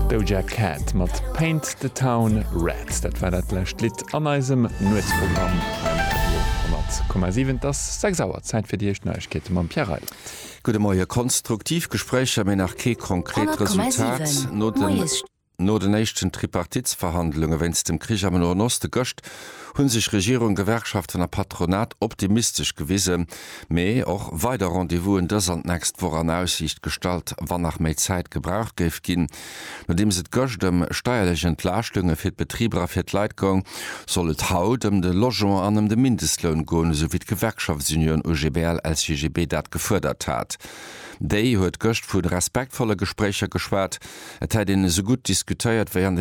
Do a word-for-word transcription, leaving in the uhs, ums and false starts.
Doja Cat mat Paint the Town Red. Dat war dat lescht Lidd an eisem Nuetsprogramm beim Radio honnert Komma siwen. Et ass sechs Auer, Zäit fir déi éischt Neiegkeete mam Pierre Reyland. Gudde Moie. Konstruktiv Gespréicher, mee nach kee konkret Resultat. No den No den éischten Tripartitsverhandlunge wéinst dem Krich am Noen Oste gëscht hu sech Regierung, Gewerkschaften a Patronat optimistesch gewisen, mee och weider Rendez-vousen dës an d'nächst Woch an Aussiicht gestallt, wann nach méi Zäit gebraucht géif ginn. Nodeems et gëscht ëm steierlech Entlaaschtunge fir d'Betriber a fir d'Leit goung, soll et haut ëm de Logement an ëm de Mindestloun goen, esou wéi d'Gewerkschaftsunioun U G B L L C G B dat gefuerdert hat. Déi huet gëscht vu respektvolle Gespréicher geschwat, et hätt een esou gutt diskutéiert wéi an den